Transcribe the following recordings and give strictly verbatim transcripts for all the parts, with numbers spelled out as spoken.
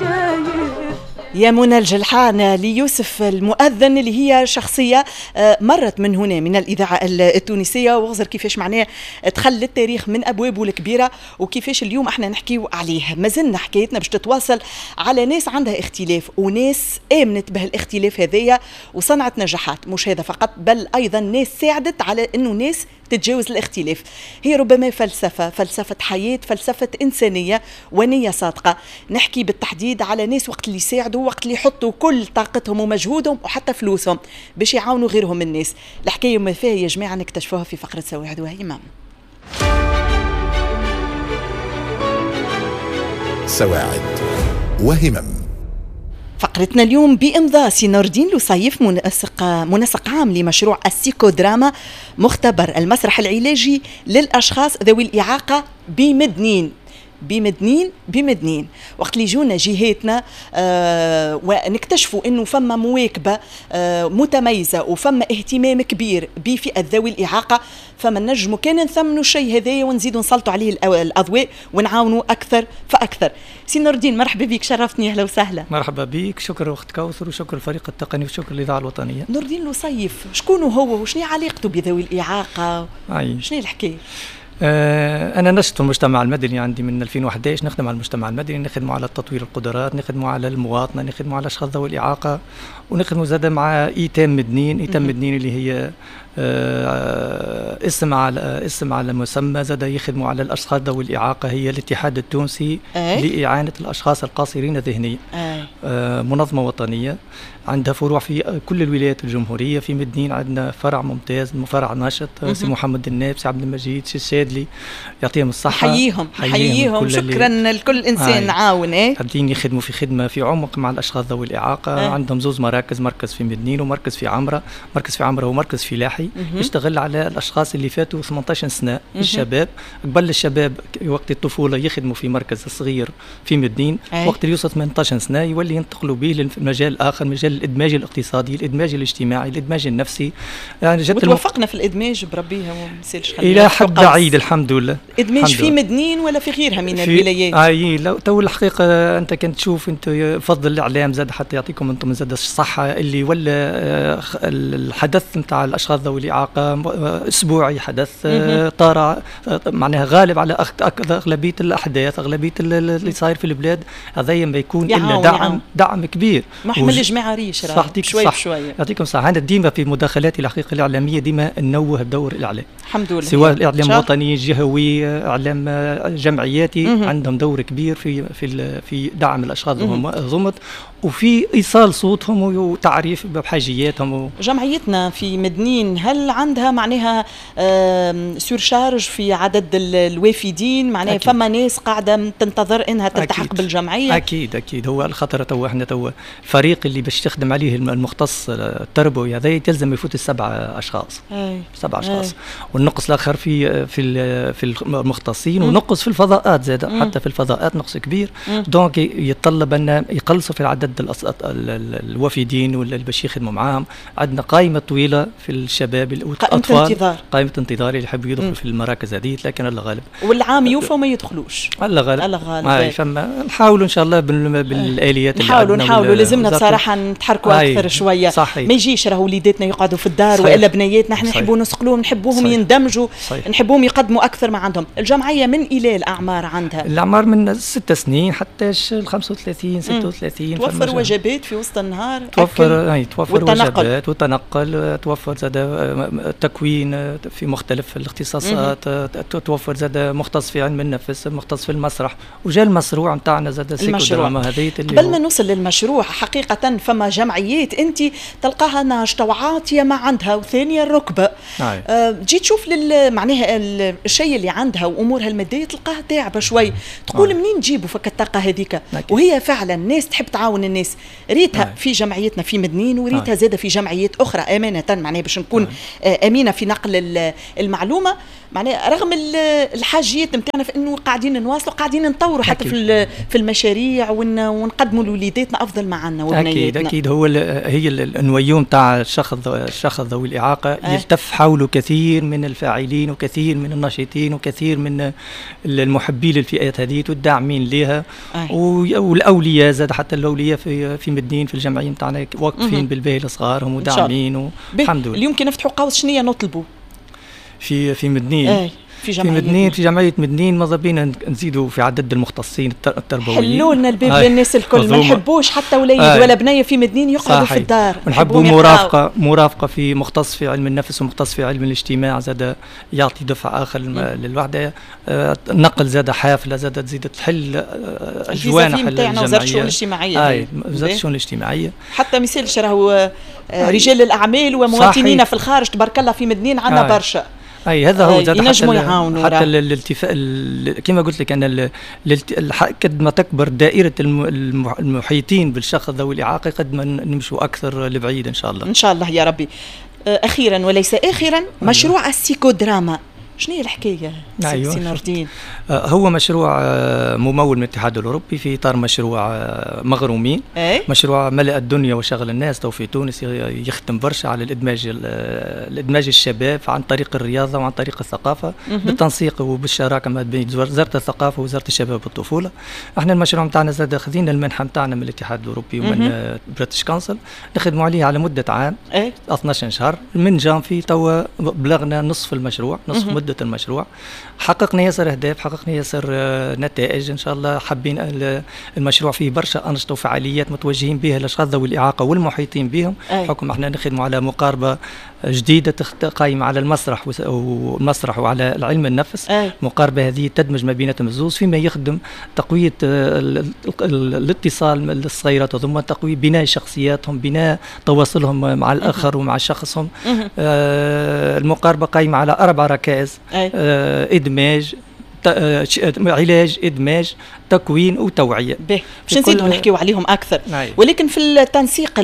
البشاير. يا منى الجلحان ليوسف المؤذن اللي هي شخصية مرت من هنا من الإذاعة التونسية، وغزر كيفاش معناه دخل للتاريخ من أبوابه الكبيرة، وكيفاش اليوم احنا نحكيو عليه. ما زلنا حكايتنا باش تتواصل على ناس عندها اختلاف وناس آمنت بهالاختلاف هذايا وصنعت نجاحات، مش هذا فقط بل أيضا ناس ساعدت على أنه ناس تتجاوز الاختلاف. هي ربما فلسفة، فلسفة حياة، فلسفة إنسانية ونية صادقة. نحكي بالتحديد على ناس وقت اللي يساعدوا، وقت اللي يحطوا كل طاقتهم ومجهودهم وحتى فلوسهم باش يعاونوا غيرهم من الناس. الحكاية ما فيها يا جماعة نكتشفوها في فقرة سواعد وهمم. سواعد وهمم. فقرتنا اليوم بإمضاء سي نور الدين لصيف، منسق منسق عام لمشروع السيكودراما، مختبر المسرح العلاجي للأشخاص ذوي الإعاقة بمدنين. بمدنين بمدنين وقت اللي يجونا جهاتنا آه ونكتشفوا انه فما مواكبة آه متميزة وفما اهتمام كبير بفئة ذوي الاعاقة، فما نجموا كان نثمنوا الشيء هذايا ونزيدوا نسلطوا عليه الاضواء ونعاونوا اكثر فاكثر. سي نور الدين مرحبا بك، شرفتني، اهلا وسهلا. مرحبا بك، شكرا اخت كوثر وشكرا الفريق التقني وشكرا الاذاعة الوطنية. نور الدين لصيف شكون هو وشنو علاقته بذوي الاعاقة؟ شنو الحكاية؟ أنا نشط في المجتمع المدني، عندي من ألفين وأحد عشر نخدم على المجتمع المدني، نخدموا على تطوير القدرات، نخدموا على المواطنة، نخدموا على أشخاص ذوي الإعاقة، ونخدموا زاد مع إيتام مدنين. إيتام مدنين اللي هي اسم على اسم على مسمى، زاد يخدموا على الأشخاص ذوي الإعاقة، هي الاتحاد التونسي لإعانة الأشخاص القاصرين ذهنيا، منظمة وطنية عندها فروع في كل الولايات الجمهورية. في مدنين عندنا فرع ممتاز، فرع ناشط، سي محمد الناب، سي عبد المجيد، سي الشادلي، يعطيهم الصحة. حييهم حييهم، شكرا لكل إنسان عاون. ايه قاعدين يخدموا في خدمة في عمق مع الأشخاص ذوي الإعاقة. آه. عندهم زوز مراكز، مركز في مدنين ومركز في عمرة، مركز في عمرة ومركز فلاحي، يشتغل على الأشخاص اللي فاتوا ثمانية عشر سنة، الشباب. قبل الشباب وقت الطفولة يخدموا في مركز صغير في مدنين، أي. وقت اللي يوصل ثمانية عشر سنة يولي ينتقلوا به للمجال الآخر، مجال الادماج الاقتصادي، الادماج الاجتماعي، الادماج النفسي. يعني جت وتوفقنا في الادماج بربي ما نسالش الى حد بعيد الحمد لله. ادماج في مدنين ولا في غيرها من الولايات؟ اي لو تو الحقيقة انت كنت تشوف، انت فضل الاعلام زاد حتى يعطيكم انتم زاد الصحة اللي ولا الحدث نتاع الاشخاص ذوي الاعاقة اسبوعي، حدث طارئ، معناها غالب على اغلبية الاحداث، اغلبية اللي صاير في البلاد. هذا ما يكون الا دعم دعم كبير. محمل الجماعة ريش شوي بشوية. يعطيكم الصحة. أنا ديما في مداخلاتي الحقيقة الإعلامية ديما ننوه بدور الإعلام، الحمد لله، سواء الإعلام الوطني، الجهوي، إعلام جمعياتي، مم. عندهم دور كبير في في في دعم الأشخاص الضمط وفي إيصال صوتهم وتعريف بحاجياتهم و... جمعيتنا في مدنين هل عندها معناها surcharge في عدد الوافدين؟ معناها أكيد. فما ناس قاعدة تنتظر إنها تلتحق أكيد. بالجمعية؟ أكيد أكيد. هو الخطر تو احنا تو الفريق اللي باش تخدم عليه المختص التربوي هذا يلزم يفوت السبعة أشخاص. أي. سبعة أشخاص. أي. والنقص الآخر في في في المختصين، ونقص في الفضاءات زاد، حتى في الفضاءات نقص كبير. donc يتطلب أن يقلصوا في العدد الوافدين ولا اللي باش يخدموا معاهم. عندنا قائمة طويلة في الشباب والأطفال، قائمة انتظار، قائمة انتظار اللي يحبوا يدخلوا في المراكز هذه، لكن الله غالب والعام يوفى وما يدخلوش. الله غالب، الله غالب. فما نحاولوا ان شاء الله بالآليات اللي نحاولوا نحاولوا لازمنا بصراحة نتحركوا أكثر شوية. صحيح. ما يجيش راهو وليداتنا يقعدوا في الدار. صحيح. وإلا بنياتنا احنا نحبوا نسقلوهم، نحبوهم يندمجوا، صحيح. نحبوهم يقدموا أكثر ما عندهم. الجمعية من إلى الأعمار عندها؟ الأعمار من ست سنين حتى ال خمسة وثلاثين ستة وثلاثين. توفر وجبات في وسط النهار؟ توفر اي توفر وجبات وتنقل، توفر زاد تكوين في مختلف الاختصاصات، توفر زاد مختص في علم النفس، مختص في المسرح، وجا المشروع نتاعنا زاد سيكودراما هذه. قبل ما نوصل للمشروع حقيقة فما جمعيات انت تلقاها ناشطة وعاطية ما عندها وثانية الركبة. أه تجي تشوف لل معناها الشيء اللي عندها وامورها المادية تلقاها تعبة شوي، تقول منين نجيبوا فك الطاقة هذيك؟ وهي فعلا ناس تحب تعاون الناس. ريتها آه. في جمعيتنا في مدنين، وريتها آه. زادة في جمعيات أخرى أمانة، معناها باش نكون آه. أمينة في نقل المعلومة، معناها رغم الحاجيات نتاعنا في أنه قاعدين نواصلوا، قاعدين نطوروا حتى في في المشاريع ونقدموا لوليداتنا أفضل ما عندنا وبنياتنا. أكيد أكيد. هو هي النويون تاع الشخص الشخص ذوي الإعاقة آه. يلتف حوله كثير من الفاعلين وكثير من الناشطين وكثير من المحبين للفئات هذه والداعمين لها، والاولياء زاد، حتى الاولياء في في مدنين في الجمعية نتاعنا واقفين بالباهي لصغارهم وداعمين، والحمد لله. اليوم كي نفتحوا قوس شنو نطلبوا في في مدنين؟ أي. في جمعية في مدنين في جمعية مدنين ماذا بينا نزيدوا في عدد المختصين التربويين. حلوا لنا الباب للناس الكل، ما نحبوش حتى وليد ولا بنيه في مدنين يقعدوا في الدار، نحبوا مرافقة مرافقة في مختص في علم النفس ومختص في علم الاجتماع زاد يعطي دفع اخر للوحدة. نقل زاد حافلة زاد تزيد تحل جوانح الجمعية، وزارة الشؤون الاجتماعية. اي وزارة الشؤون الاجتماعية حتى ما يسالش، راهو رجال الاعمال ومواطنينا في الخارج تبارك الله في مدنين عندنا برشا. اي هذا هو زاد حتى حتى الالتفاء كما قلت لك ان قد ما تكبر دائرة المحيطين بالشخص ذوي الاعاقة قد ما نمشوا اكثر لبعيد ان شاء الله. ان شاء الله يا ربي. اخيرا وليس اخرا، مشروع السيكودراما شنو هي الحكاية؟ أيوة. سي نور الدين؟ هو مشروع ممول من الاتحاد الاوروبي في اطار مشروع مغرومين. أي؟ مشروع ملأ الدنيا وشغل الناس تو في تونس، يخدم برشا على الادماج الادماج الشباب عن طريق الرياضة وعن طريق الثقافة. مه. بالتنسيق وبالشراكه ما بين وزارة الثقافة ووزارة الشباب والطفوله. احنا المشروع نتاعنا زاد خذينا المنحة نتاعنا من الاتحاد الاوروبي ومن British Council، نخدموا عليه على مده عام. أي؟ اثناش شهر من جانفي تو بلغنا نصف المشروع، نصف مه. مدة المشروع. حققنا ياسر أهداف، حققنا ياسر نتائج إن شاء الله. حابين المشروع فيه برشا أنشطة وفعاليات متوجهين بها الأشخاص ذوي الإعاقة والمحيطين بهم. حكم احنا نخدموا على مقاربة جديدة قائمة على المسرح والمسرح وعلى العلم النفس. المقاربة هذه تدمج ما بيناتهم الزوز فيما يخدم تقوية الاتصال للصغيرات ثم تقوية بناء شخصياتهم، بناء تواصلهم مع الآخر ومع شخصهم. المقاربة قائمة على أربع ركائز: آه، إدماج، علاج، إدماج، تكوين وتوعية. باهي، باش نزيدوا نحكيو عليهم أكثر. أي. ولكن في التنسيق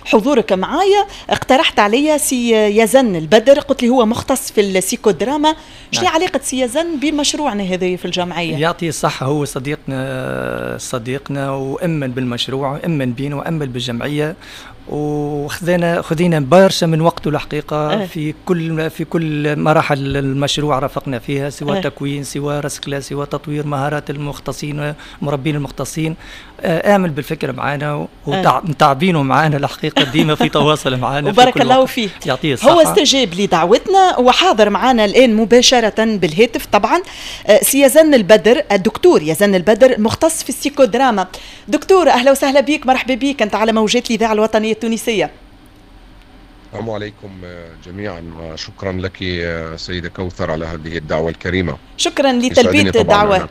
حضورك معايا اقترحت عليا سي يزن البدر، قلت لي هو مختص في السيكودراما. شنو علاقة سي يزن بمشروعنا هذا في الجمعية؟ يعطيه الصحة، هو صديقنا صديقنا وأمن بالمشروع وأمن بينا وأمن بالجمعية، وخذينا خذينا برشا من وقته الحقيقة. أه. في كل في كل مراحل المشروع رافقنا فيها، سواء أه. تكوين، سواء رسكله، سواء تطوير مهارات المختصين مربين المختصين. آمل بالفكرة معنا ومتعبينه معنا الحقيقة، ديما في تواصل معنا. وبارك الله فيه، يعطيه الصحة. هو استجاب لدعوتنا وحاضر معنا الان مباشرة بالهاتف. طبعا سي يزن البدر، الدكتور يزن البدر مختص في السيكودراما. دكتور اهلا وسهلا بك، مرحبا بك، انت على موجات الاذاعة الوطنية التونسية. السلام عليكم جميعا، وشكرا لك سيدة كوثر على هذه الدعوة الكريمة. شكرا لتلبية الدعوة،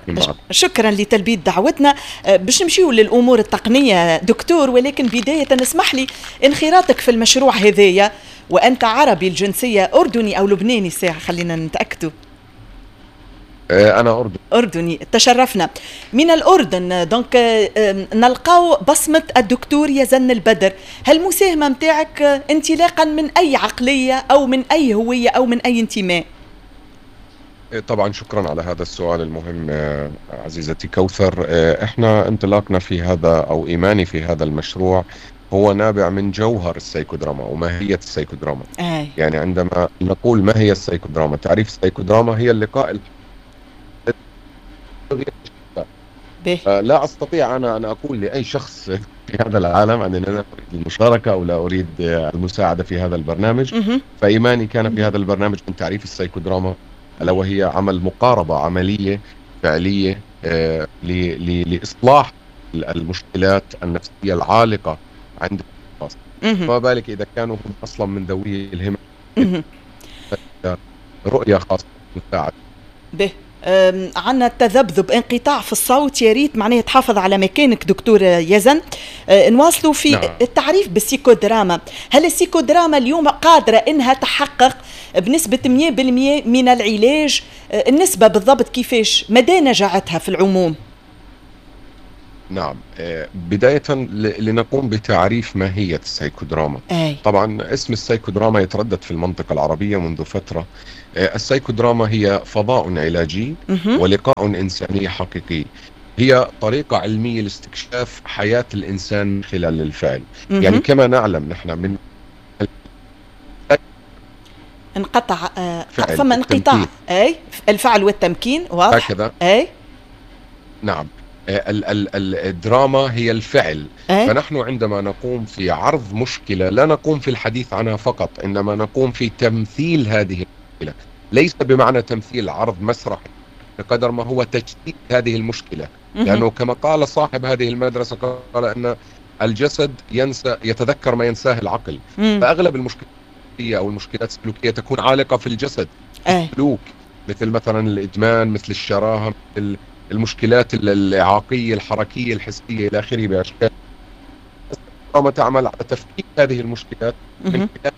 شكرا لتلبية دعوتنا. باش نمشيو للأمور التقنية دكتور، ولكن بداية اسمح لي انخراطك في المشروع هذايا، وأنت عربي الجنسية، أردني أو لبناني ساعة خلينا نتأكدوا. أنا أردني. أردني، تشرفنا. من الأردن donc نلقاو بصمة الدكتور يزن البدر. هل المساهمة متاعك انطلاقا من أي عقلية أو من أي هوية أو من أي انتماء؟ طبعا شكرا على هذا السؤال المهم عزيزتي كوثر. احنا انطلاقنا في هذا أو إيماني في هذا المشروع هو نابع من جوهر السيكودراما وماهية السيكودراما. أي. يعني عندما نقول ما هي السيكودراما، تعريف السيكودراما هي اللقاء. لا أستطيع أنا أن أقول لأي شخص في هذا العالم أنني لا أريد المشاركة أو لا أريد المساعدة في هذا البرنامج. فإيماني كان في هذا البرنامج من تعريف السيكودراما، ألا وهي عمل مقاربة عملية فعلية لإصلاح المشكلات النفسية العالقة عند الأشخاص، فما بالك إذا كانوا هم أصلا من ذوي الهمم. رؤية خاصة مساعدة. به عندنا تذبذب، انقطاع في الصوت، يا ريت معناها تحافظ على مكانك دكتور يزن. نواصلوا في نعم. التعريف بالسيكودراما. هل السيكودراما اليوم قادرة انها تحقق بنسبة مئة بالمئة من العلاج؟ النسبة بالضبط كيفاش، مدى نجاعتها في العموم؟ نعم، بداية لنقوم بتعريف ماهية السيكودراما. أي. طبعا اسم السيكودراما يتردد في المنطقة العربية منذ فترة. السيكودراما هي فضاء علاجي ولقاء إنساني حقيقي، هي طريقة علمية لاستكشاف حياة الإنسان من خلال الفعل. مه. يعني كما نعلم نحن من انقطع انقطع، فما انقطاع. اي الفعل والتمكين واضح هكذا. اي نعم، ال ال الدراما هي الفعل. أي؟ فنحن عندما نقوم في عرض مشكلة لا نقوم في الحديث عنها فقط، إنما نقوم في تمثيل هذه المشكلة، ليس بمعنى تمثيل عرض مسرحي بقدر ما هو تجسيد هذه المشكلة. لأنه كما قال صاحب هذه المدرسة، قال أن الجسد ينسى يتذكر ما ينساه العقل. مم. فأغلب المشكلات أو المشكلات السلوكية تكون عالقة في الجسد، السلوك، مثل مثلا الإدمان، مثل الشراهة، مثل المشكلات الإعاقية الحركية الحسية إلى آخره بأشكال. الدراما تعمل على تفكيك هذه المشكلات من خلال.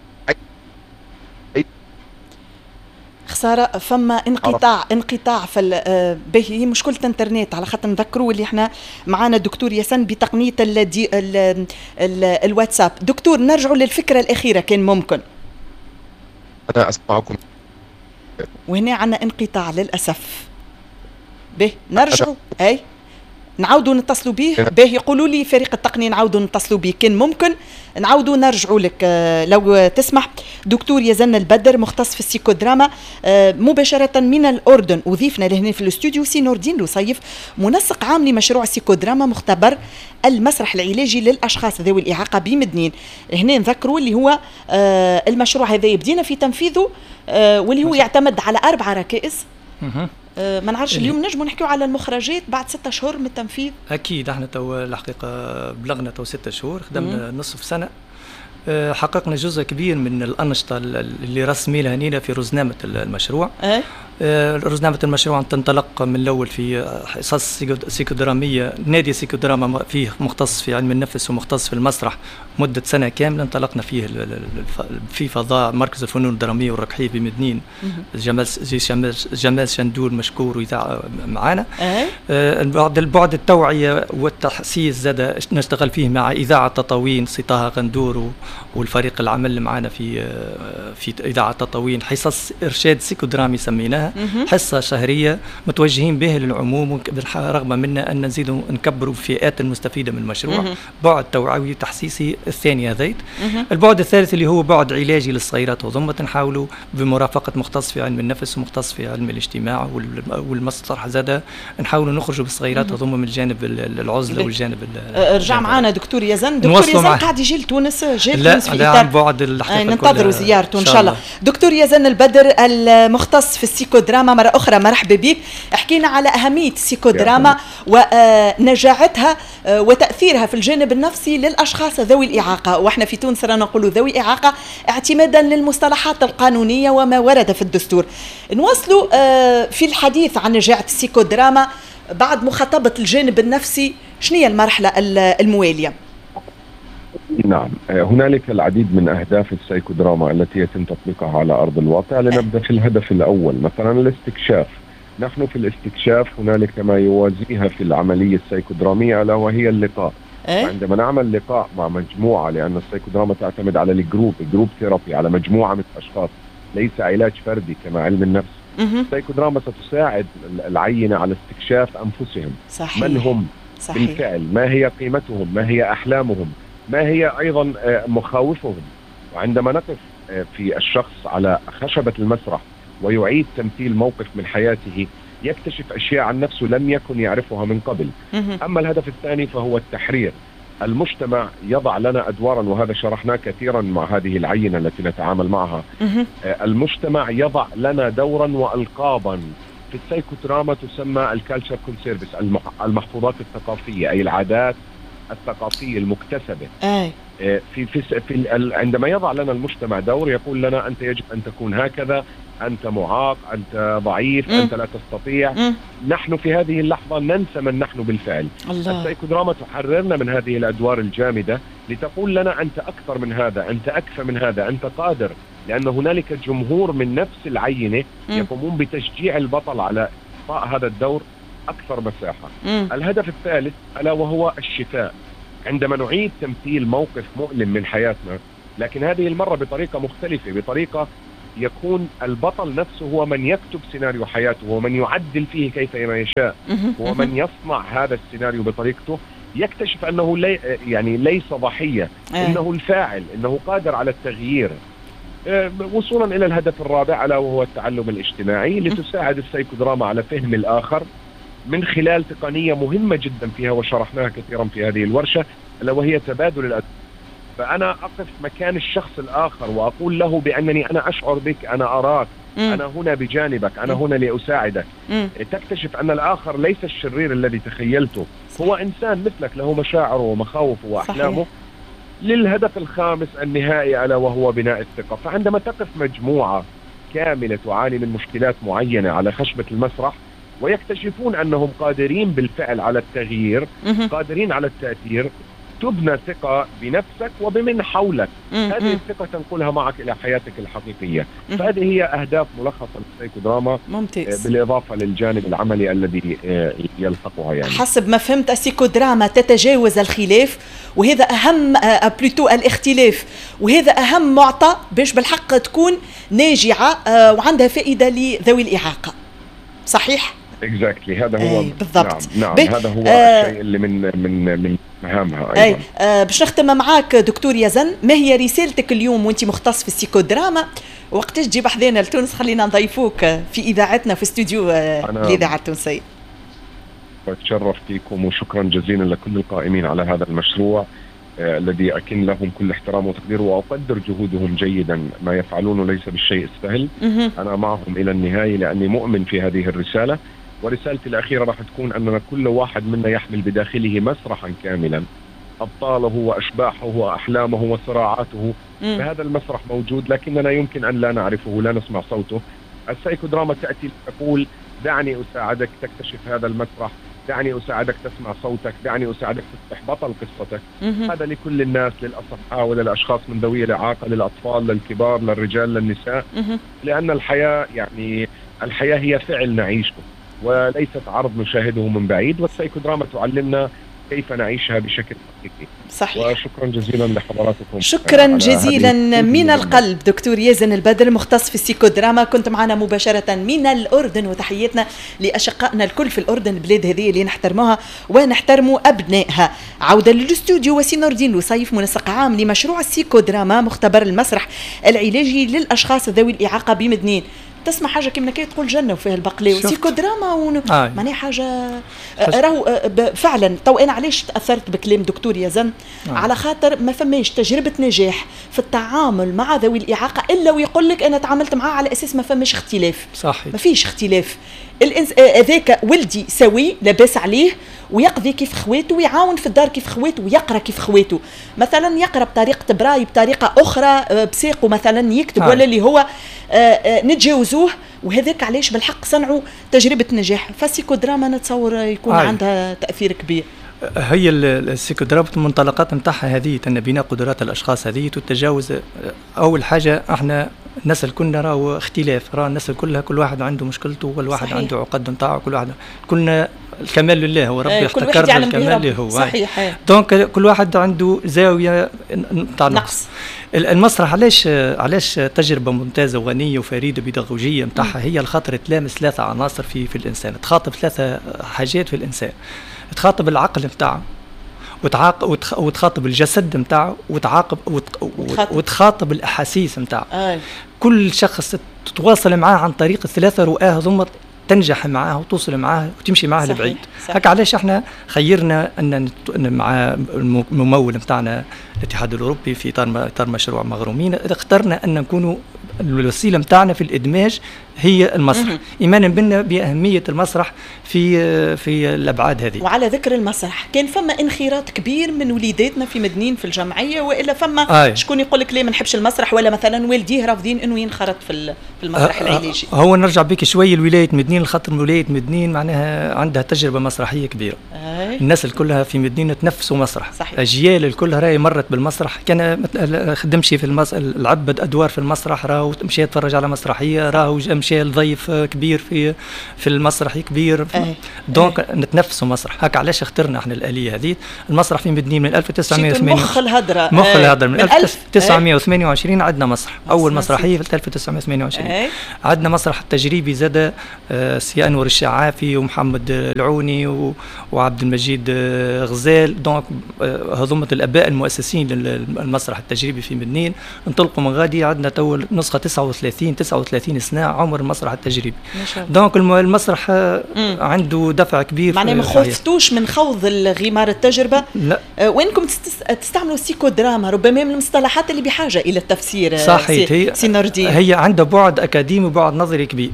خسارة فما انقطاع انقطاع في به مشكلة انترنت، على خاطر نذكروا اللي احنا معانا الدكتور ياسن بتقنية ال ال ال الواتساب. دكتور نرجعوا للفكرة الاخيرة كان ممكن. انا اسمعكم. وهنا عندنا انقطاع للاسف. به نرجعوا اي نعاودوا نتصلوا به. به يقولوا لي فريق التقنية نعاودوا نتصلوا به كان ممكن، نعاودوا نرجعوا لك لو تسمح. دكتور يزن البدر مختص في السيكودراما مباشرة من الأردن، وضيفنا لهنا في الاستوديو سي نور الدين لوصيف منسق عام لمشروع السيكودراما مختبر المسرح العلاجي للأشخاص ذوي الإعاقة بمدنين. هنا نذكروا اللي هو المشروع هذا بدينا في تنفيذه، واللي هو يعتمد على أربع ركائز. ما نعرفش اليوم نجموا نحكيو على المخرجات بعد ستة شهور من التنفيذ؟ اكيد احنا تو الحقيقة بلغنا تو ستة شهور، خدمنا نصف سنة، حققنا جزء كبير من الأنشطة اللي رسمي لها نينا في رزنامة المشروع. أه؟ رزنامة المشروع تنطلق من الأول في حصص سيكودرامية، نادي سيكودراما فيه مختص في علم النفس ومختص في المسرح مدة سنة كاملة انطلقنا فيه في فضاء مركز الفنون الدرامية والركحية بمدنين، جمال جمال شندول مشكور وإذاعة معانا. أه؟ بعد البعد التوعية والتحسيس زاد نشتغل فيه مع إذاعة تطاوين سي طه غندور والفريق العمل معنا في في إذاعة تطاوين، حصص إرشاد سيكودرامي سميناها، حصة شهرية متوجهين به للعموم، رغم منا أن نزيد نكبروا فئات المستفيدة من المشروع. بعد توعوي تحسيسي الثاني هذيت. البعد الثالث اللي هو بعد علاجي للصغيرات وضمة، نحاولوا بمرافقة مختص في علم النفس ومختص في علم الاجتماع والمسرح زادة، نحاولوا نخرجوا بالصغيرات وضمة من الجانب العزلة والجانب. رجع معنا دكتور يزن. دكتور يزن قاعد يجي لتونس، جاي لتونس في لا عن بعد الحقيقة، ننتظروا زيارته إن شاء الله. دكتور يزن البدر المختص في السيكودراما، مرة أخرى مرحبا بك. حكينا على أهمية السيكودراما ونجاعتها وتأثيرها في الجانب النفسي للأشخاص ذوي الإعاقة، وإحنا في تونس رانا نقولوا ذوي إعاقة اعتمادا للمصطلحات القانونية وما ورد في الدستور. نواصلوا في الحديث عن نجاعة السيكودراما بعد مخاطبة الجانب النفسي، شنو هي المرحلة الموالية؟ نعم، هنالك العديد من أهداف السايكودراما التي يتم تطبيقها على أرض الواقع. لنبدأ في الهدف الأول، مثلا الاستكشاف. نحن في الاستكشاف هنالك ما يوازيها في العملية السايكودرامية ألا وهي اللقاء. أه؟ عندما نعمل لقاء مع مجموعة، لأن السايكودراما تعتمد على ال group، group therapy، على مجموعة من الأشخاص، ليس علاج فردي كما علم النفس. السايكودراما ستساعد العينة على استكشاف أنفسهم. صحيح. من هم؟ صحيح. بالفعل، ما هي قيمتهم، ما هي أحلامهم، ما هي أيضا مخاوفهم. وعندما نقف في الشخص على خشبة المسرح ويعيد تمثيل موقف من حياته، يكتشف أشياء عن نفسه لم يكن يعرفها من قبل. أما الهدف الثاني فهو التحرير. المجتمع يضع لنا أدوارا، وهذا شرحناه كثيرا مع هذه العينة التي نتعامل معها. المجتمع يضع لنا دورا وألقابا. في السايكودراما تسمى ال culture conserves، المحفوظات الثقافية، أي العادات الثقافية المكتسبة. أي. في في في عندما يضع لنا المجتمع دور يقول لنا أنت يجب أن تكون هكذا، أنت معاق، أنت ضعيف، م. أنت لا تستطيع. م. نحن في هذه اللحظة ننسى من نحن بالفعل. الله. السايكودراما تحررنا من هذه الأدوار الجامدة لتقول لنا أنت أكثر من هذا، أنت أكفى من هذا، أنت قادر، لأن هنالك جمهور من نفس العينة م. يقومون بتشجيع البطل على إعطاء هذا الدور أكثر مساحة. م. الهدف الثالث ألا وهو الشفاء. عندما نعيد تمثيل موقف مؤلم من حياتنا، لكن هذه المرة بطريقة مختلفة، بطريقة يكون البطل نفسه هو من يكتب سيناريو حياته، هو من يعدل فيه كيفما يشاء، هو من يصنع هذا السيناريو بطريقته، يكتشف أنه لي يعني ليس ضحية، إنه الفاعل، إنه قادر على التغيير. وصولا إلى الهدف الرابع ألا وهو التعلم الاجتماعي، لتساعد السايكودراما على فهم الآخر من خلال تقنية مهمة جدا فيها وشرحناها كثيرا في هذه الورشة، ألا وهي تبادل الأدوار. فأنا أقف مكان الشخص الآخر وأقول له بأنني أنا أشعر بك، أنا أراك، مم. أنا هنا بجانبك، أنا هنا لأساعدك. مم. تكتشف أن الآخر ليس الشرير الذي تخيلته، هو إنسان مثلك له مشاعره ومخاوفه وأحلامه. للهدف الخامس النهائي ألا وهو بناء الثقة. فعندما تقف مجموعة كاملة تعاني من مشكلات معينة على خشبة المسرح ويكتشفون أنهم قادرين بالفعل على التغيير، قادرين على التأثير، تبنى ثقة بنفسك وبمن حولك. مم. هذه الثقة تنقلها معك إلى حياتك الحقيقية. مم. فهذه هي أهداف ملخصة للسيكودراما. ممتاز. بالإضافة للجانب العملي الذي يلحقها. يعني حسب ما فهمت السيكودراما تتجاوز الخلاف، وهذا أهم plutôt الاختلاف، وهذا أهم معطى باش بالحق تكون ناجعة وعندها فائدة لذوي الإعاقة. صحيح؟ Exactly. هذا هو بالضبط. نعم, نعم هذا هو آه الشيء اللي من من من مهامها ايضا. أي. آه باش نختم معاك دكتور يزن، ما هي رسالتك اليوم وانت مختص في السيكودراما؟ وقتاش تجي بحذانا لتونس خلينا نضيفوك في اذاعتنا في استوديو الاذاعة التونسية. بتشرف فيكم وشكرا جزيلا لكل القائمين على هذا المشروع آه الذي أكن لهم كل احترام وتقدير، وأقدر جهودهم جيدا، ما يفعلونه ليس بالشيء السهل. أنا معهم إلى النهاية لأني مؤمن في هذه الرسالة. ورسالتي الأخيرة راح تكون أننا كل واحد منا يحمل بداخله مسرحا كاملا، أبطاله وأشباحه وأحلامه وصراعاته. فهذا المسرح موجود لكننا يمكن أن لا نعرفه، لا نسمع صوته. السايكودراما تأتي تقول دعني أساعدك تكتشف هذا المسرح، دعني أساعدك تسمع صوتك، دعني أساعدك تصبح بطل قصتك. مم. هذا لكل الناس، للأصحاء وللأشخاص من ذوي الإعاقة، للأطفال، للكبار، للرجال، للنساء. مم. لأن الحياة يعني الحياة هي فعل نعيشه وليست عرض نشاهده من بعيد، والسايكودراما تعلمنا كيف نعيشها بشكل حقيقي. صحيح. وشكرا جزيلا لحضراتكم. شكرا جزيلا من القلب دكتور يزن البدر مختص في السيكودراما، كنت معنا مباشرة من الأردن، وتحياتنا لأشقائنا الكل في الأردن، البلاد هذه اللي نحترموها ونحترموا أبنائها. عودة للاستوديو وسي نور الدين لوصيف، منسق عام لمشروع السيكودراما مختبر المسرح العلاجي للأشخاص ذوي الإعاقة بمدنين. تسمع حاجة كيما كي تقول جنة وفيها البقلاوه سيكودراما ون... آه. معناها حاجة راهو فعلا. تو انا علاش تاثرت بكلام دكتور يزن؟ آه. على خاطر ما فماش تجربه نجاح في التعامل مع ذوي الاعاقة الا ويقول لك انا تعاملت معاه على اساس ما فماش اختلاف. صحيح. ما فيش اختلاف. الانس هذاك ولدي سوي لاباس عليه ويقضي كيف خواته ويعاون في الدار كيف خواته ويقرا كيف خواته، مثلا يقرا بطريقة براي بطريقة اخرى بساقه مثلا يكتب آه. ولا اللي هو نتجاوزوه، وهذاك علاش بالحق صنعوا تجربه نجاح. فالسيكودراما نتصور يكون آه. عندها تاثير كبير. هي السيكودراما المنطلقات نتاعها هذه ان بناء قدرات الاشخاص هذه والتجاوز. اول حاجة احنا الناس الكل راهو اختلاف، راه الناس كلها كل واحد عنده مشكلته وكل واحد صحيح. عنده عقد نتاعو، كل واحد كلنا الكمال لله، هو ربي احتكرنا الكمال له هو. صحيح. donc كل واحد عنده زاوية نتاع نقص. المسرح علاش علاش تجربه ممتازة وغنيه وفريدة بيداغوجيه نتاعها، هي الخاطر تلامس ثلاثة عناصر في في الانسان، تخاطب ثلاثة حاجات في الانسان، تخاطب العقل نتاعه وتعاق وتخاطب الجسد نتاعه وتعاقب وتخاطب, وتخاطب الاحاسيس نتاعه. آه. كل شخص تتواصل معاه عن طريق الثلاثة رؤاه ثم تنجح معاه وتوصل معاه وتمشي معاه لبعيد. هكا علاش احنا خيرنا ان مع الممول نتاعنا الاتحاد الاوروبي في اطار اطار مشروع مغرومين، اخترنا ان نكونوا الوسيلة نتاعنا في الادماج هي المسرح، ايمانا بنا باهمية المسرح في في الابعاد هذه. وعلى ذكر المسرح، كان فما انخراط كبير من وليداتنا في مدنين في الجمعية، والا فما آه. شكون يقول لك ليه ما نحبش المسرح، ولا مثلا والديه رافضين انه ينخرط في في المسرح آه. العلاجي؟ هو نرجع بك شوي لولاية مدنين، الخاطر ولاية مدنين معناها عندها تجربه مسرحية كبيرة. آه. الناس الكلها في مدنين تنفسوا مسرح. صحيح. اجيال الكل راهي مرت بالمسرح، كان خدمش في المس... لعبت ادوار في المسرح، راهو مشى يتفرج على مسرحية، راهو مشى لضيف كبير في في المسرح كبير. أه. donc أه. نتنفسوا مسرح. هكا علاش اخترنا احنا الالية هذه. المسرح في مدنين من ألف وتسعمية وثمانية مخ الهدرة مخ أه. الهدرة من ألف وتسعمية وثمانية وعشرين عندنا مسرح، اول مسرحية في ألف وتسعمية وثمانية وعشرين. أه. عندنا مسرح التجريبي زاد سي انور الشعافي ومحمد العوني وعبد المجيد مجيد غزال، donc هذوما الاباء المؤسسين للمسرح التجريبي في مدنين. انطلقوا من غادي، عندنا تو نسخه تسعة وثلاثين تسعة وثلاثين سنة عمر المسرح التجريبي. donc المسرح مم. عنده دفع كبير. معناها ما خفتوش من خوض الغمار التجربة؟ لا. وينكم تستعملوا سيكودراما، ربما من المصطلحات اللي بحاجة الى التفسير. صحيح، هي سي نور الدين هي عندها بعد اكاديمي وبعد نظري كبير.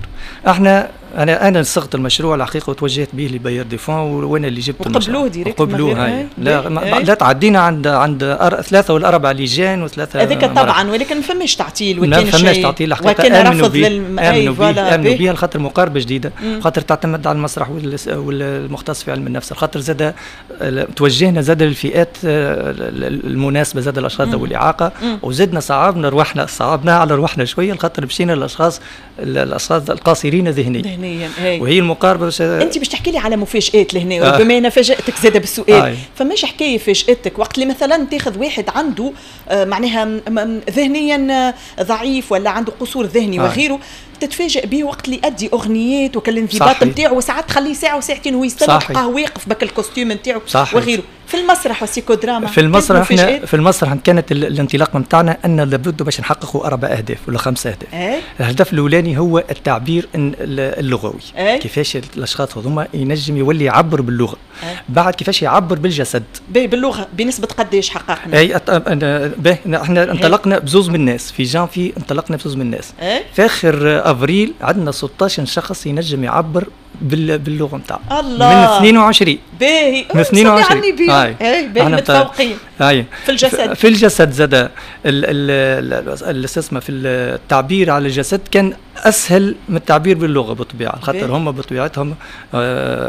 احنا انا انا صغت المشروع الحقيقة وتوجهت به ل bailleurs de fonds، وانا اللي جبت المشروع. وقبلوه direct؟ قبلوه. هاي لا ما لا تعدينا عند عند ثلاثة ولا اربع لجان وثلاثة هذاك طبعا، ولكن ما فماش تعطيل وكان ما فماش تعطيل الحقيقة. وكان رفض للم... امنوا به امنوا به خاطر مقاربة جديدة، خاطر تعتمد على المسرح والمختص في علم النفس، خاطر زاد توجهنا زاد للفئات المناسبة، زاد الاشخاص ذوي الاعاقة، وزدنا صعبنا رواحنا صعبناها على رواحنا شوية، خاطر مشينا للاشخاص الاشخاص القاصرين ذهنيا. وهي المقاربة. بش... انت باش تحكي لي على مفاجات لهنا، آه. ربما انا فاجاتك زاده بالسؤال. آه. فماش حكاية فاجاتك وقت اللي مثلا تاخذ واحد عنده آه معناها ذهنيا ضعيف ولا عنده قصور ذهني آه. وغيره، تتفاجئ به وقت اللي يؤدي اغنيات وكل الانضباط نتاعو، وساعات تخليه ساعة وساعتين وهو يستنى تلقاه واقف بك ال costume نتاعو وغيره. في المسرح والسيكودراما في المسرح احنا في المسرح كانت الانطلاق نتاعنا ان لابد باش نحققوا اربع اهداف ولا خمسة اهداف. أي؟ الهدف الاولاني هو التعبير اللغوي. أي؟ كيفاش الاشخاص هذوما ينجم يولي يعبر باللغة. أي؟ بعد كيفاش يعبر بالجسد. باللغة بنسبة قداش حققنا؟ اي أت... احنا انطلقنا بزوز من الناس في جانفي، انطلقنا بزوز من الناس. أي؟ في اخر افريل عندنا ستة عشر شخص ينجم يعبر باللغة نتاعو. الله. من اثنين وعشرين. باهي. من اثنين وعشرين. هاي باهي متفوقين. هاي في الجسد. في الجسد زاد الاستثمار في التعبير على الجسد كان اسهل من التعبير باللغة بالطبيعة، خاطر هم بطبيعتهم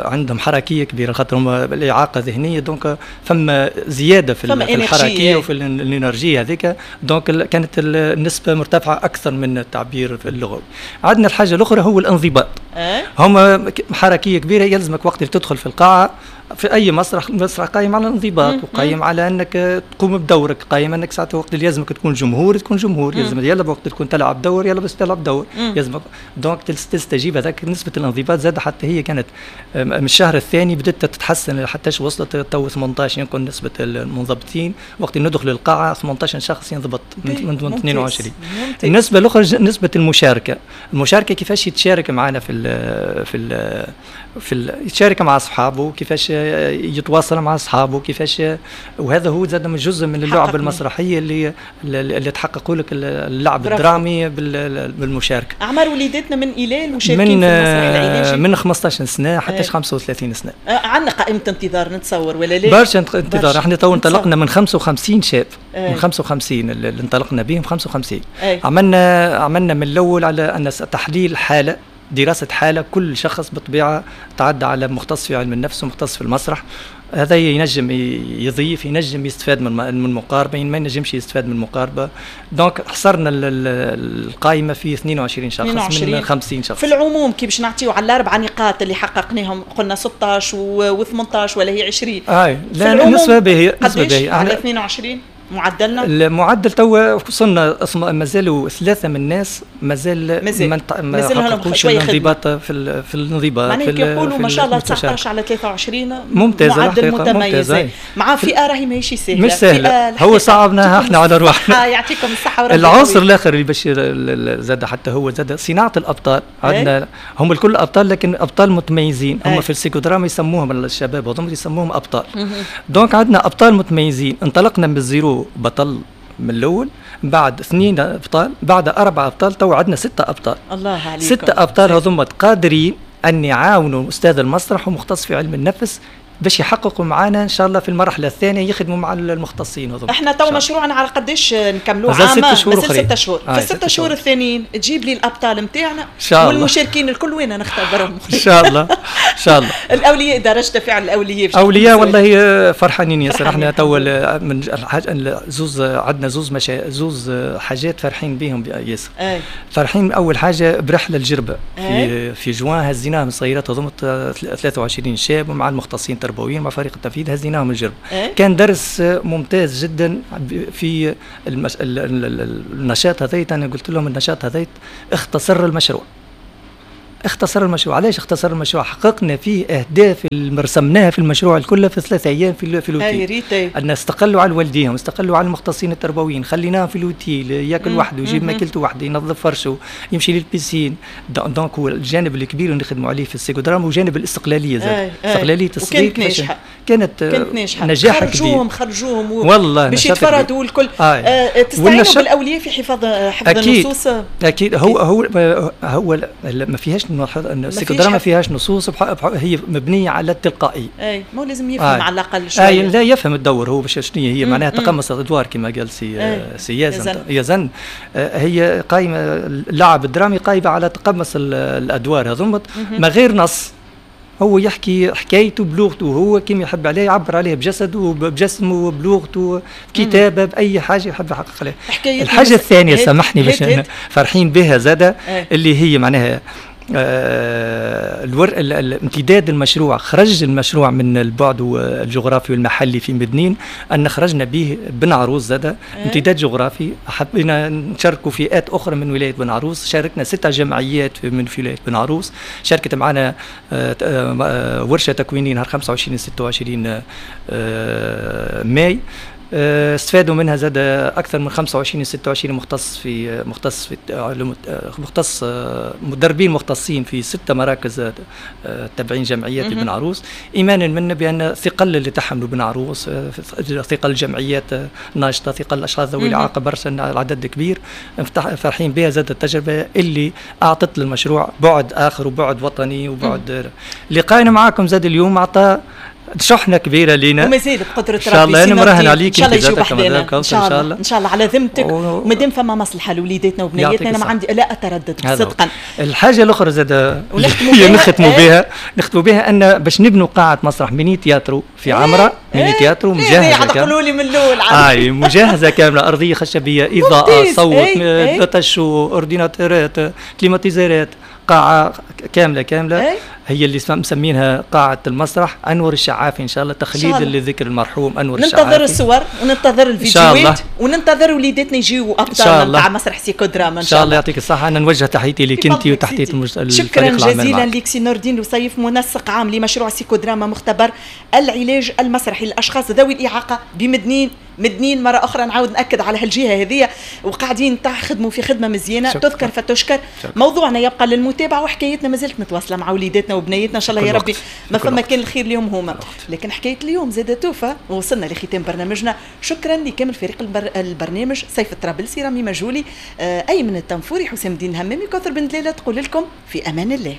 عندهم حركية كبيرة، خاطر هم الاعاقة ذهنية، donc فما زيادة في, في الحركية وفي ال énergie هذيك، donc كانت النسبة مرتفعة اكثر من التعبير اللغوي. عندنا الحاجة الاخرى هو الانضباط. هم حركية كبيرة، يلزمك وقت اللي تدخل في القاعة في اي مسرح، المسرح قايم على الانضباط وقايم على انك تقوم بدورك، قايم انك ساعات وقت اللي لازمك تكون جمهور تكون جمهور، يلزم يلا وقت تكون تلعب دور يلا بس تلعب دور، يلزمك donc تستجيب. هذاك نسبه الانضباط زاد حتى هي كانت من الشهر الثاني بدات تتحسن حتى وصلت تو ثمانية عشر يمكن نسبه المنضبطين وقت ندخل القاعة ثمانية عشر شخص ينضبط من اثنين وعشرين. النسبة الاخرى نسبه المشاركة، المشاركة كيفاش يتشارك معنا في ال في ال في ال يتشارك مع اصحابه، كيفاش يتواصل مع اصحابه، كيفاش، وهذا هو زاد من جزء من اللعبة المسرحية اللي اللي تحققوا لك اللعب الدرامي بالمشاركة. اعمار وليداتنا من الى المشاركين في المسرح العلاجي من خمسة عشر سنة حتى خمسة وثلاثين سنة. عندنا قائمة انتظار نتصور ولا لا؟ برشا انتظار، احنا تو انطلقنا من خمسة وخمسين شاب. أي. من خمسة وخمسين اللي انطلقنا بهم خمسة وخمسين. أي. عملنا عملنا من الاول على ان تحليل حاله، دراسة حالة، كل شخص بالطبيعة تعدى على مختص في علم النفس ومختص في المسرح، هذا ينجم يضيف، ينجم يستفاد من من المقاربة، ما ينجمش يستفاد من المقاربة. donc حصرنا القائمة في اثنين وعشرين شخص اثنين وعشرين من خمسين شخص. في العموم كي باش نعطيو على الأربع نقاط اللي حققناهم، قلنا ستة عشر و ثمانية عشر ولا هي عشرين. اي لا النسبة باهية، نسبة باهية على اثنين وعشرين معدلنا؟ المعدل توا وصلنا مازالوا ثلاثة من الناس مازال مازال ما حققوش الانضباط في في الانضباط. معناها كي يقولوا ما شاء الله تسعة عشر على ثلاثة وعشرين ممتازة، معدل متميز مع فئة راهي ماهيش سهلة، مش سهلة، هو صعبناها احنا على رواحنا. يعطيكم الصحة وربي. العنصر الاخر اللي باش زاد حتى هو زاد صناعة الابطال. عندنا هم الكل ابطال لكن ابطال متميزين، هم في السيكودراما يسموهم الشباب هذوما يسموهم ابطال. donc عندنا ابطال متميزين، انطلقنا من ال zéro بطل من الاول، بعد اثنين ابطال، بعد اربع ابطال، تو عندنا ستة ابطال. الله عليكم. ستة ابطال هذوما قادرين ان يعاونوا استاذ المسرح ومختص في علم النفس باش يحققوا معنا ان شاء الله في المرحلة الثانية، يخدموا مع المختصين هذوما. احنا تو مشروعنا على قداش نكملوه؟ عام مازال ست شهور، مازال ست شهور. في الست شهور الثانيين تجيب لي الابطال نتاعنا والمشاركين الكل وين نختبرهم ان شاء الله. ان شاء الله. الاولياء درجه تفاعل الاولياء، اولياء والله فرحانين ياسر. احنا تو من زوز عندنا زوز مشا... زوز حاجات فرحين بهم ياسر. فرحين اول حاجة برحله الجربه في في جوان، هزيناهم صغيرات هذوما ثلاثة وعشرين شاب ومع المختصين التربويين مع فريق التنفيذ هزيناهم الجرب. إيه؟ كان درس ممتاز جدا في المش... النشاط هذيت. انا قلت لهم النشاط هذيت اختصر المشروع، اختصر المشروع. علاش اختصر المشروع؟ حققنا فيه اهداف اللي رسمناها في المشروع الكل في ثلاثة ايام في في l'hôtel. ان استقلوا على والديهم، استقلوا على المختصين التربويين، خليناهم في l'hôtel ياكل وحده، يجيب ماكلته وحده، ينظف فرشه، يمشي لل piscine. donc هو الجانب الكبير اللي نخدموا عليه في السيكودراما وجانب الاستقلالية زاد، استقلالية الصغير. وكانت ناجحة، كانت كانت ناجحة، نجاح كبير. خرجوهم خرجوهم و... والله باش يتفردوا الكل. آه. تستعينوا بالاولياء في حفظ حفظ النصوص. اكيد هو هو هو ما فيهاش السيكودراما ما فيهاش نصوص، هي مبنية على التلقائي. اي ما لازم يفهم آه. على الاقل شوية. اي لا يفهم الدور هو باش شنو هي معناها تقمص الادوار كما قال سي سي يزن يزن هي قايمة اللعب الدرامي قايمة على تقمص الادوار هذوما ما غير نص. هو يحكي حكايته بلغته هو كما يحب عليه، يعبر عليه بجسده وبجسمه وبلغته بكتابه باي حاجة يحب يحقق عليها. الحاجة الثانية سامحني باش فرحين بها زاده اللي هي معناها آه الور... الامتداد المشروع. خرج المشروع من البعد الجغرافي والمحلي في مدنين، ان خرجنا به بن عروس زاده امتداد جغرافي. حبينا نشاركوا فئات اخرى من ولاية بن عروس، شاركنا ستة جمعيات من ولاية بن عروس، شاركت معنا آه آه ورشه تكوينيه نهار خمسة وعشرين ستة وعشرين آه ماي، استفادوا منها زاد اكثر من خمسة وعشرين ستة وعشرين مختص في مختص في مختص مدربين مختصين في ستة مراكز تابعين جمعيات بن عروس، ايمانا منا بان ثقل اللي تحملوا بن عروس، ثقل الجمعيات الناشطه، ثقل الاشخاص ذوي الاعاقة برشا العدد كبير، فرحين بها زاد التجربة اللي اعطت للمشروع بعد اخر وبعد وطني وبعد. لقائنا معاكم زاد اليوم اعطى شحنه كبيرة لينا ومازال بقدره ربي ان شاء الله. انا مراهن عليك ان شاء الله يجيو بحذانا ان شاء الله، ان شاء الله على ذمتك، ومادام فما مصلحة لوليداتنا وبنياتنا انا ما عندي لا اتردد صدقا. الحاجة الاخرى زاد نختموا بها نختموا بها ان باش نبنوا قاعة مسرح mini théâtre في عمره، mini théâtre مجهزة كاملة. قولوا لي من الاول اي مجهزة كاملة، ارضية خشبيه، اضاءه، صوت، data show، اورديناتورات، كليماتيزيرات، قاعة كاملة كاملة. هي اللي مسمينها قاعة المسرح أنور الشعافي إن شاء الله، تخليدا لذكر المرحوم أنور الشعافي. ننتظر الصور وننتظر الفيديوهات وننتظر وليداتنا يجيو أبطال نتاع مسرح سيكودراما إن شاء الله. يعطيك الصحة، أنا نوجه تحياتي لك أنت وتحية شكرا جزيلا لك سي نور الدين لوصيف، منسق عام لمشروع سيكودراما مختبر العلاج المسرحي للأشخاص ذوي الإعاقة بمدنين. مدنين مرة أخرى نعاود نأكد على هالجهة هذه، وقاعدين تخدموا في خدمة مزيانة تذكر فتشكر. موضوعنا يبقى للمتابعة وحكايتنا ما زالت متواصلة مع وليداتنا وبنيتنا إن شاء الله يا ربي ما فما كان الخير اليوم هما. لكن حكاية اليوم زادة توفى ووصلنا لختام برنامجنا. شكرا لكامل فريق البر... البرنامج، سيف الطرابلسي، رامي مجولي، أيمن التنفوري، حسام الدين الهمامي، كوثر بن دلالة، تقول لكم في أمان الله.